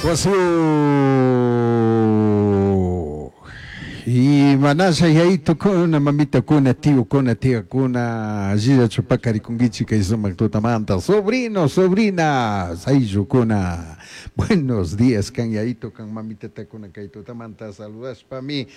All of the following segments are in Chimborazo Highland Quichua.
Wasiyu imanasha yayitukuna, mamitakuna, tiyukuna, tiyakuna, allillachu pakarikunkichik kay sumak tutamanta, sobrino, sobrinas, ayllukuna, buenos días kan yayitu kan mamitatakuna kay tutamanta saludashpami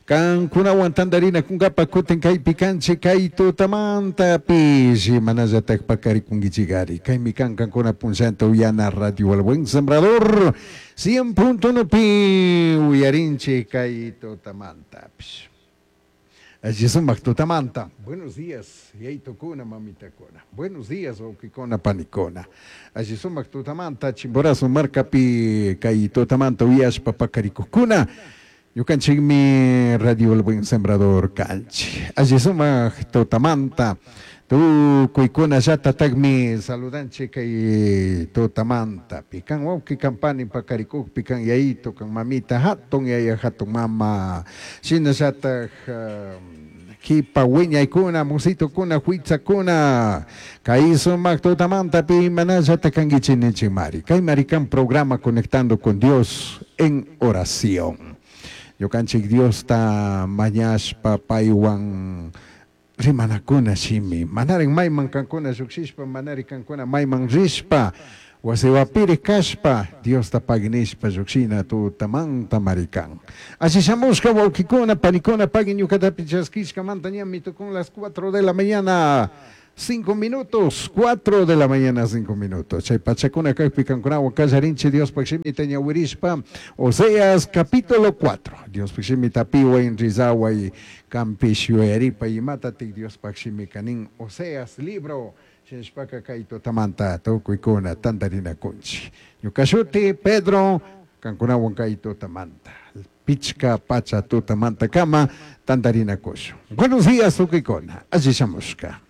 kankunawan tantarinakunkapak kutin kaypi kanchik kay tutamantapish imanallatak pakarikunkichikari kaymi kan kankuna punllanta uyana Radio El Buen Sembrador 100.1 pi uyarinchik kay tutamantapish. Alli sumak tutamanta. Buenos días, yayitukuna, mamitakuna. Buenos días, wawkikuna, panikuna. Alli sumak tutamanta, Chimborazo markapi kay tutamanta uyashpa pakarikukkuna. Ñukanchikmi Radio El Buen Sembrador kanchik. Alli sumak tutamanta tukuykunallatatakmi saludanchik kay tutamanta. Pikan wawki kan pani pakarikukpi kan yayitu kan mamita hatun yaya hatun mama. Shinallatak kipa wiñaykuna musitukuna huitzakuna kay sumak tutamanta pi imanallata kankichik ninchikmari. Kay mari kan programa Conectando con Dios en Oración. Ñukanchik Diosta mañashpa paywan rimanakuna shimi. Manarin mayman kankuna llukshishpa, manari kankuna mayman rishpa, wasiwapiri kashpa, Diosta pagui nishpa llukshina tutamanta mari kan. Alli shamushka wawkikuna, panikuna, pagui ñukatapi chaskishkamanta ñami tukun las 4 de la mañana. 5 minutos, 4 de la mañana, 5 minutos. Chay pachakuna kaypi kankunawan kallarinchik Diospaj shimita ñawirishpa, Oseas capítulo 4. Diospaj shimita piway rizaway kampish yuyaripa imatatik Diospaj shimika nin Oseas libro. Shinashpaka kay tutamanta tukuykuna tantarinakunchik. Ñuka shuti Pedro, kankunawan kay tutamanta. Pichka pacha tutamanta kama tantarinakushun. Buenos días tukuykuna, alli shamushka.